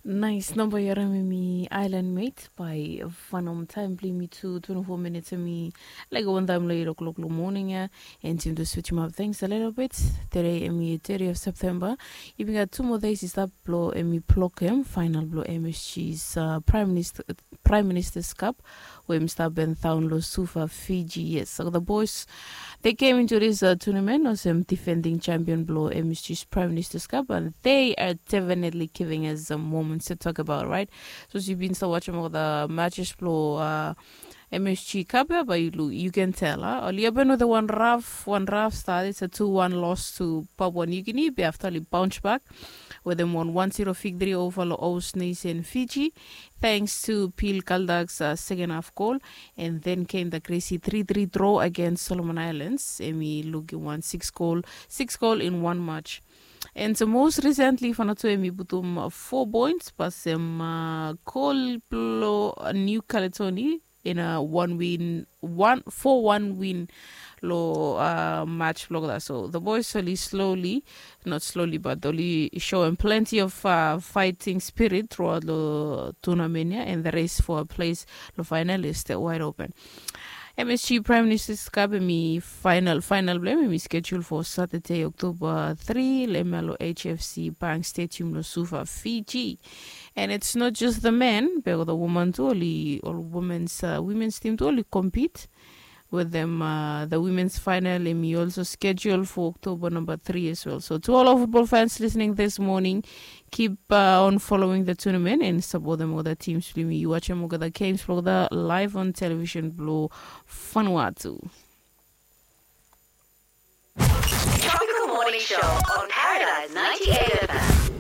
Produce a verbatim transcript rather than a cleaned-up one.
Nais namba yu harim em i Island Mate by Fanom. Taem blong yumi tu twenty-four minutes em i laik wan taem long eight o'clock long moning ya. And yumi tu switchim ap things a little bit. Today em i thirty of September. Yumi gat two more days i stap blong em i blokem final blong M S G's uh, Prime Minister Prime Minister's Cup we em i stap bend daon long Suva, Fiji. Yes, so the boys they came into this uh, tournament olsem defending champion blong M S G's Prime Minister's Cup and they are definitely giving us some moments to talk about, right? So yu bin stap watchim ol the matches blong uh, M S G Cup ya, but you, you can tell, huh? Oli open with a one rough, one rough start. It's a two one loss to Papua New Guinea. Be after oli bounce back with them one one zero victory over Laos Nation Fiji, thanks to Pil Kaldak's uh, second half goal. And then came the crazy three three draw against Solomon Islands. Em i lukim wan six goal, six goal in one match. And so most recently, Vanuatu em i putum uh, four points, pasem uh, goal blong uh, New Caledonia in a one win, one four one win lo uh, match blog that. So the boys slowly, slowly, not slowly, but oli show him plenty of uh, fighting spirit throughout the tournament, yeah, and the race for a place lo final is still wide open. M S G Prime Minister's Cup em i final, final blong em i schedule for Saturday, October three, lo hemia lo H F C Bank Stadium lo Suva, Fiji. And it's not just the men, be ol woman tu, oli, ol women's, uh, women's team tu, oli compete with them. Uh, the women's final em i also schedule for October number three as well. So to all our football fans listening this morning, keep uh, on following the tournament and support them other teams blong yumi. Yu watchim olgeta games blong olgeta live on television blong Vanuatu. Tropical Morning Show on Paradise ninety-eight F M.